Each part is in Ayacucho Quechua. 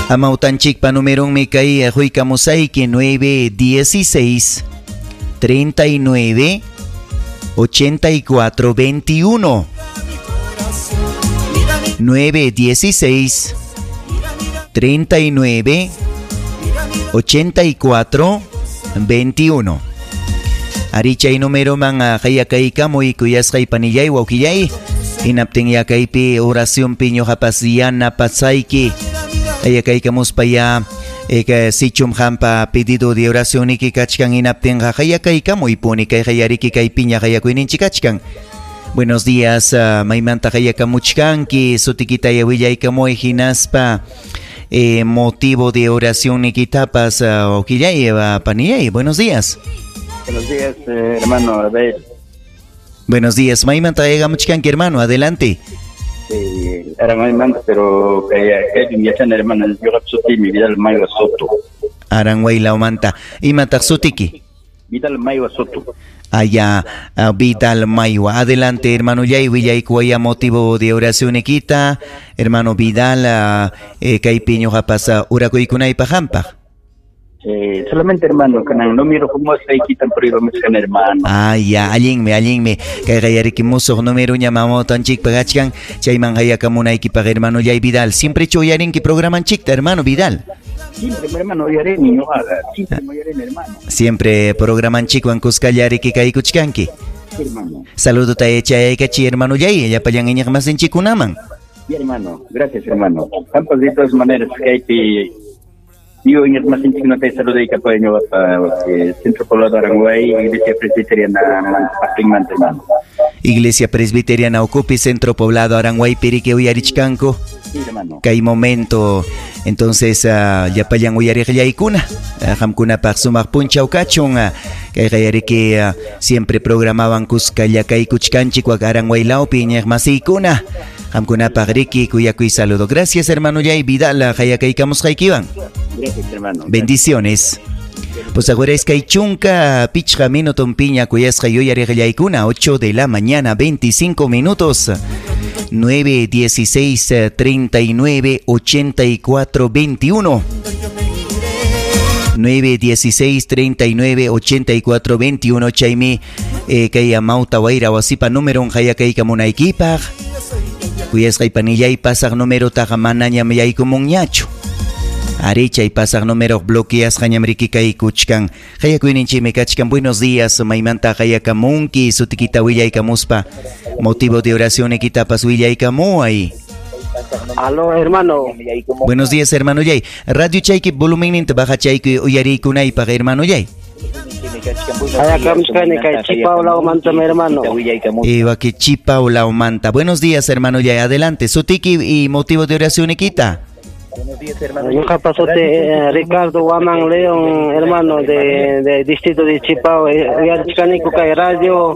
Amawtanchikpa numerunmi kay quykamusayki 916 39 84 21. 916 39 84 21. Ari chay numeroman qayakaykamuy kuyasqay panillay wawqillay. Hinaptin yakaypi oracionpi ñuqapas yanapasayki. Qayakaykamuspa ya sichum hampa pedido de oración niki kachkan hinaptinqa qayakaykamuypuni kay qayariki kaypiña qayakuyninchik kachkan. Buenos días, maymanta qayakamuchkanki, sutikita willaykamuy hinaspa motivo de oración nikitapas wawqillay, panillay. Buenos días. Buenos días, hermano Abel. Buenos días, maymanta qayakamuchkanki, hermano, adelante. Aranguaymanta, pero kaypim yachana, hermano, ñuqapa sutiymi Vidal Maywa Soto. Aranguaylawmanta. Imataq sutiki? Vidal Maywa Soto. Allá, Vidal Maywa. Adelante, hermano Yay, willaykuwaya motivo de oración nikita. Hermano Vidal, kaypi ñuqapas urakuykunaypaq hampaq. Solamente, hermano, kanan número como quitan por ir hermano. Ah, ya, allinmi, allinmi. Kay qayariki musuq número ña mamawtanchikpaq achkan, chayman qayakamunaykipaq, hermano Yay Vidal. Siempre uyarinki programanchikta, hermano Vidal. Siempre, hermano, uyarini, ñuqaqa. Siempre uyarini, hermano. Siempre programanchikwan kuskallariki kaykuchkanki. Sí, hermano. Saludo tayachayaykachi, hermano Yay, llapallan iñiqmasinchikkunaman. Sí, hermano, gracias, hermano. Hampas de todas maneras, kaypi yo iñiqmasinchikkunata saludaykapuy ñuqapa Centro Poblado Aranguay, Iglesia Presbiteriana Apinmanta, hermano. Iglesia Presbiteriana Ucupi, Centro Poblado Aranguay, piriki uyarichkanku. Sí, hermano. Kay momento, entonces, llapallan uyariqllaykuna, qamkunapaq sumaq punchaw kachun, kay qayariki siempre programaban kuskalla kaykuchkanchik wak Aranguaylawpi iñiqmasiykuna. Qamkunapaq riki kuyakuy saludo. Gracias, hermano Yay Vidal, qayakaykamusqaykiwan. Gracias, hermano. Bendiciones. Pues ahora es que chunka pichqa minuto piña kuyasqa yuyariqllaykuna, 8 de la mañana, 25 minutos. 9, 16, 39, 84, 21. 9, 16, 39, 84, 21. Chaymi, kay amawta wayra wasipa número hayakaykamunaykipaq. Kuyasqay panillay pasaq número taqa manañam yaykumunñachu. Ari chay pasaq número bloqueasqañam riki kaykuchkan. Qayakuyninchikmi kachkan. Buenos días, maymanta qayakamunki, sutikita willaykamuspa. Motivo de oración nikitapas willaykamuay. Aló, hermano. Buenos días, hermano Yay. Radio chayki volumen baja chayki uyarikunaypaq, hermano Yay. Hayakamuchkani kay Chipawlawmanta, hermano. Waki Chipawlawmanta. Buenos días, hermano Yay. Adelante. Sutiki y motivo de oración nikita. Buenos días, hermano. Ñuqapa suti Ricardo Guamán León, hermano, de distrito de Chipao. Uyarichkaniku kay radio.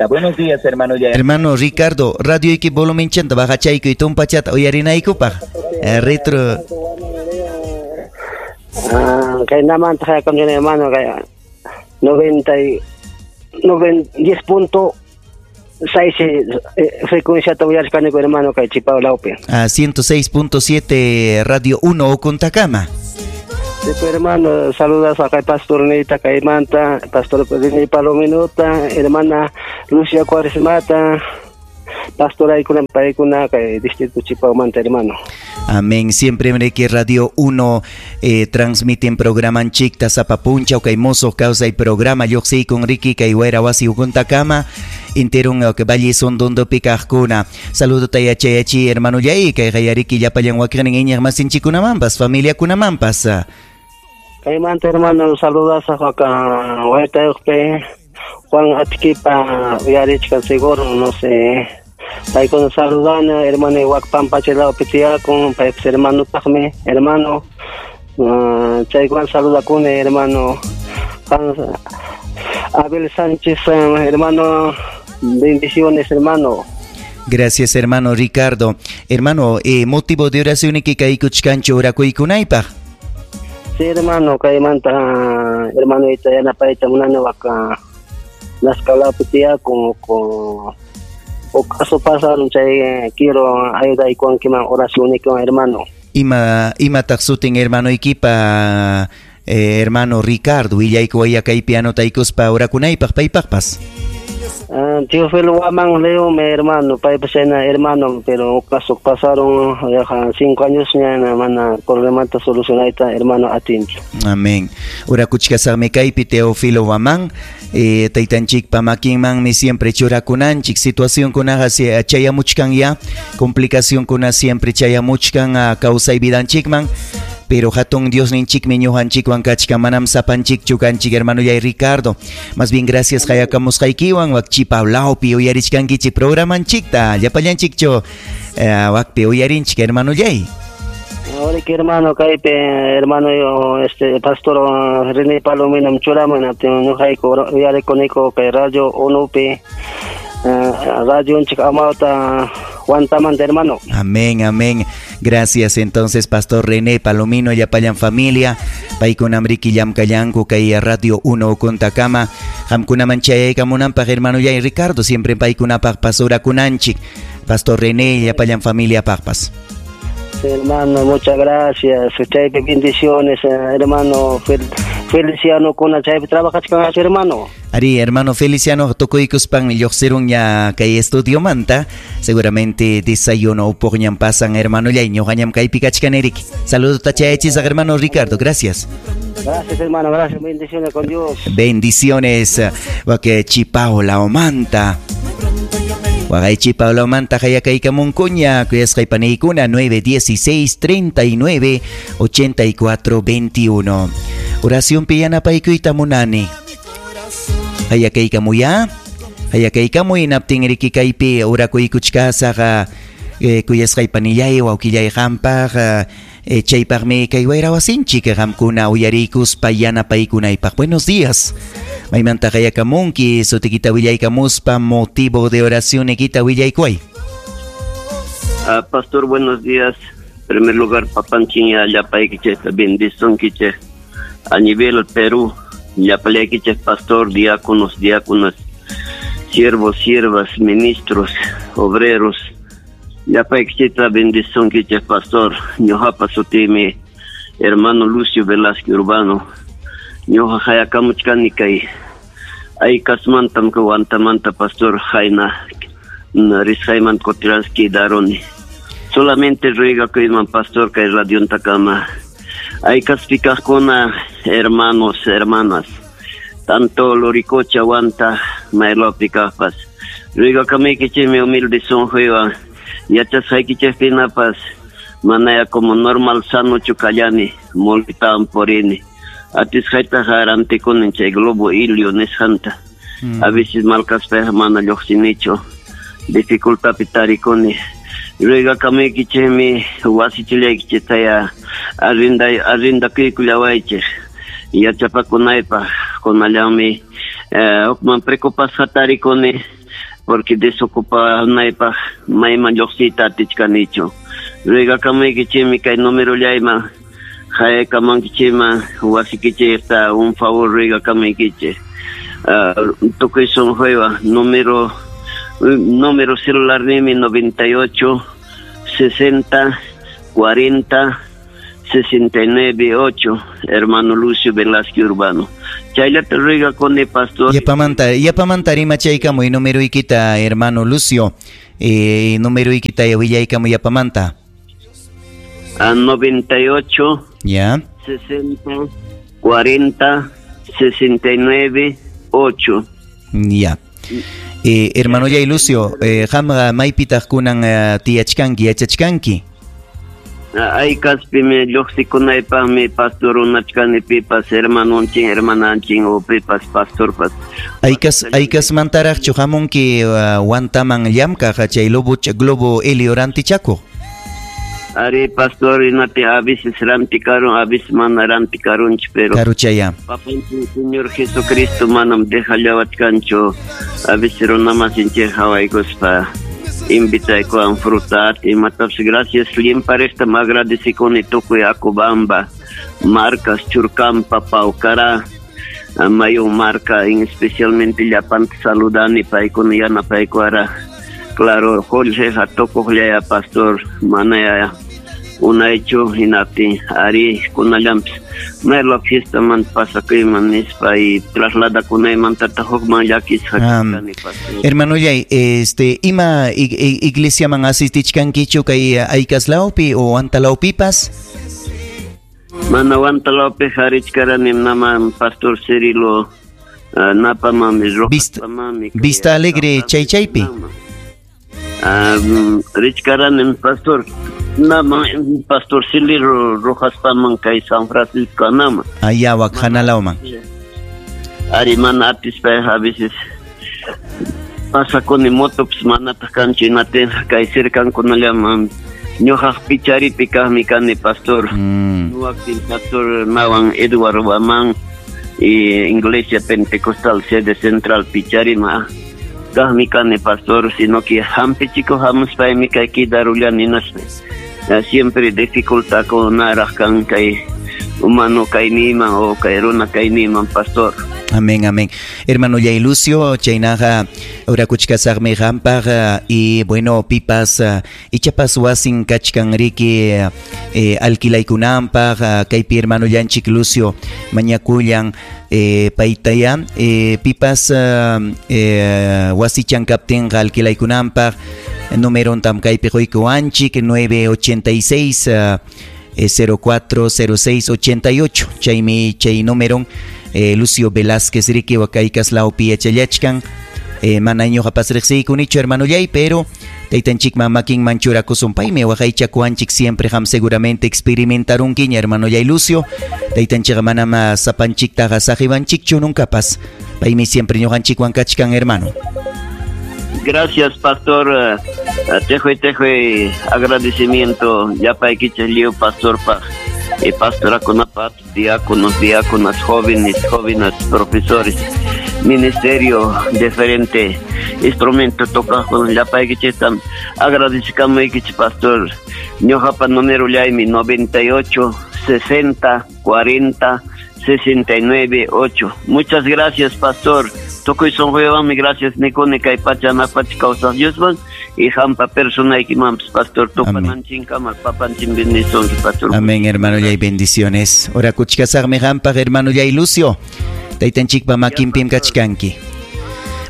Buenos días, hermano. Hermano Ricardo, radio iki volumen chanta baja chayku y tumpachata uyarinaykupaq. Retro. Kay namanta hayakamchani, hermano, kay 10.6 frecuencia uyarichkaniku, hermano, kay Chipawlawpi. 106.7 Radio 1 Ocontacama. Sí, pues, hermano, saludas a kay Pastor Nita Caimanta, Pastor René Palominota, hermana Lucia Cuaresmata, Pastor Aikuna Paikuna, kay Distrito Chipawmanta, hermano. Amén. Siempre que Radio 1 transmiten programa Chicta Zapapuncha, kay Mozo causa y programa Yoxi con Ricky kay Huera Wasi Ucontacama, interon que Valle son dondo picajcuna. Saludo tayachayachi hermano Yai, kay Hayariki yapallan wakrenin iñaq masinchikunamampas, familia kunamampas. Kaymanta, hermano, saludas a Huaytayuqpi, Juan Atiquipa, uyarichkan seguro, no sé. Paykuna saludana, hermano Huacpampa chelawpi tiyakun, paypas hermanopaqmi, hermano. Chaykuwan saludakuni, hermano Abel Sánchez, hermano, bendiciones, hermano. Gracias, hermano Ricardo. Hermano, motivo de oración que kaykuchkanchu urakuykunaypaq. Sí, hermano, kaymanta, hermano yanapayta munani waka Nascalawpi tiyakun, con Caso pasaron chay quiero ayudaykuwankiman oracionniykiwan hermano. Imataq sutin hermanoykipa hermano Ricardo willaykuwaya kaypi anotaykuspa orakunaypaq paypaqpas? Teófilo Guamán León, mi hermano, paypas chayna hermano, pero caso pasaron 5 años ña mana problemata solucionayta hermano atinchu. Amén. Orakuchkasaqmi kaypi Teófilo Guamán, taytanchikpa makinmanmi siempre churakunanchik, situacionkunaqa chayamuchkan ya, complicacionkuna siempre chayamuchkan kawsay vidanchikman. Pero hatun Dios ninchikmi ñuqanchikwan kachkan, manam sapanchikchu kanchik hermanollay Ricardo. Más bien gracias qayakamusqaykiwan wakchipablawpi uyarichkankichik programanchikta, llapallanchikchu wakpi uyarinchik hermanollay. Ahora que hermano kaypi hermano pastor René Palomino churaman ñuqayku uyarikuniko kay radio Unupi radio amauta Huantamanta, hermano. Amén, amén. Gracias entonces, Pastor René Palomino, llapallan familia, paykunamriki llamkallanku kay Radio 1 Kuntakama, qamkunaman chayaykamunanpaq hermano yay Ricardo, siempre paykunapaq pasurakunanchik, Pastor René, llapallan familia paqpas. Hermano, muchas gracias. Chaypi bendiciones, hermano Feliciano kuna chaypi trabajachkan hermano. Ari, hermano Feliciano, tukuykuspan lluqsirun ña kay estudiomanta, seguramente desayuno upuqñam pasan hermano yay ñuqañam kaypi kachkan erik. Saludos tachayachisaq hermano Ricardo, gracias. Gracias hermano, gracias, bendiciones con Dios. Bendiciones, wake chipao laomanta. Wagaychi Pablo Manta hayakaykamunkuña kuyasqay paniykuna 916 39 84 21. Oración piyanapaykuyta munani. Hayakaykamuya, hayakaykamuy naptin riki kaypi orakuykuchkasaqa kuyasqay panillay wawqillay qampaq chaypaqmi kay wayrawasinchik qamkuna uyariykuspa yanapaykunaypaq. Buenos días. Maymanta hayakamunki, sutikita willaykamuspa, motivo de oración ikita willaykuay. Pastor, buenos días. En primer lugar, papanchiña, llapaykichik, bendisonkichik. A nivel Perú, llapallaykichik, pastor, diáconos, diáconas, siervos, siervas, ministros, obreros. Llapaykichikta bendisonkichik, pastor. Ñuqapa sutimi, hermano Lucio Velázquez Urbano. Ñuqa hayakamuchkani kay aykasmantam Huantamanta, pastor, hayna risqayman kutiraski daroni. Solamente ruegakuyman, pastor, kay radiontakama. Aykaspi kaqkuna, hermanos, hermanas, tanto Loricocha, Huanta, maylapi kaqpas. Ruegakamuykichikmi humilde sunquywan, yachasqaykichikpinapas manaya como normal sanochu kallani, multitawan purini. Atisqaytaqa rantikunin chay globo ilio nisqanta. A veces malkaspayqa mana lluqsinichu, dificultadpi tarikuni. Ruegakamuykichikmi wasichillaykichiktaya arrendakuykullawaychik yachapakunaypaq. Kunallanmi hukman preocupasqa tarikuni porque desocupanaypaq mayman lluqsiyta atichkanichu. Ruegakamuykichikmi kay numerollayman hayakamankichikman wasikichikta un favor ruegakamuykichik. Tukuy sunquywan número celular nimi 98 60 40 69 8, hermano Lucio Velázquez Urbano. Chayllata ruegakuni, pastor. Yapamanta rimachaykamuy numeroykita, hermano Lucio. Numeroykita willaykamuy yapamanta. A 98 ya 60 40 69 8. Ya. Hermano Yay Lucio, qamqa maypitaq kunan tiyachkanki, yachachkanki? Aykaspimi lluqsikunaypaqmi pastor unachkani pipas hermanonchin, hermananchin o pipas pastorpas. Aykasmantaraqchu hamunki Huantaman llamkaq chay globo helio rantichakuq? Ari pastor, inati a veces rantikaron, a veces mana rantikaronchi, pero karuchaya. Papanchik Señor Jesucristo manam dejallawachkanchu, a veces runamasinchik hawaykuspa invitaykuwan fruta imatapas. Gracias limparesta agradecikuni tukuy Acobamba, Marcas, Churcampa, Paucará, Mayo Marca, en especialmente llapanta saludani paykuna yanapaykuara. Claro, qullqiqa tukuqllaya pastor, manaya unaychu hinaptin ari kunallanpis mayla fiestaman pasakuyman nispa y trasladakunaymantataq hukman llakisqa kani pastor. Hermanollay, ima iglesiaman asistichkankichu kay Aykaslawpi o Antalawpipas? Mana Huantalawpiqa richkaranim naman pastor Cirilo napamami Rojaspamanmi Vista Alegre chaychaypi. Richkaranim pastor naman pastor Cirilo Rojaspaman kay San Francisco naman. Allá wak hanalawman. Ari mana atispay a veces pasakuni motopis manataq kanchu hinaptin kay cercankunallaman ñuqaq picharipi kaqmi kani pastor. Nuwaqtin pastor nawan Edward Waman y Iglesia Pentecostal sede central Picharima kaqmi kani pastor, sino que hampichikuq hamuspaymi kay quedarullani hinaspa siempre dificultad kunaraq kan kay humano kayniyman o kay runa kayniyman pastor. Amén, amén. Hermano Yay Lucio, chaynaqa orakuchkasaqmi qampaq y bueno, pipas ichapas wasin kachkan riki alquilaykunanpaq kaypi hermano llanchik Lucio mañakullan paytaya pipas wasichan kaptinqa alquilaykunanpaq numerontam kaypi quykuwanchik 986 0406 88 chaymi chay numeron Lucio Velázquez riki wakaykaslawpi yachallachkan mana ñuqapas riqsiykunichu hermanollay, pero taytanchikman makinman churakusun paymi waqaychakuwanchik siempre qam seguramente experimentarunkiña hermanollay Lucio. Taytanchikqa manam sapanchiktaqa saqiwanchikchu nuncapas, paymi siempre ñuqanchikwan kachkan hermano. Gracias pastor, tejoy agradecimiento llapaykichik lliw pastorpaq y pastorakunapaq, diáconos, diáconas, jóvenes, jóvenes, profesores, ministerio, diferente instrumento tocaqkuna llapaykichiktam agradecikamaykichik pastor. Ñuqapa número llaymi 98 60 40 69 8. Muchas gracias pastor. Tukuy sunquywanmi gracias nikuni kay pacha napacha kawsaq Diosman y hampa personaykimanpas pastor tupananchinkama papanchin bendisonki pastor. Amén hermano yay, bendiciones. Orakuchkasaqmi hampaq hermano yay Lucio. Taytanchikpa makinpim kachkanki.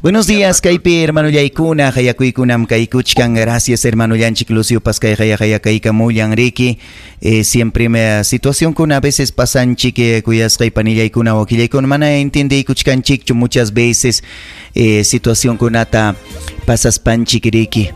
Buenos días, kaypi hermano yaykuna, hayakuykunam kaykuchkan. Gracias hermano llanchik Lucio paskay hayakaykamullan riki. Siempre me situación kuna a veces pasanchik kuyasqay panillaykuna wakillaykuna mana entiendeykuchkanchikchu muchas veces situación kunata pasaspanchik riki.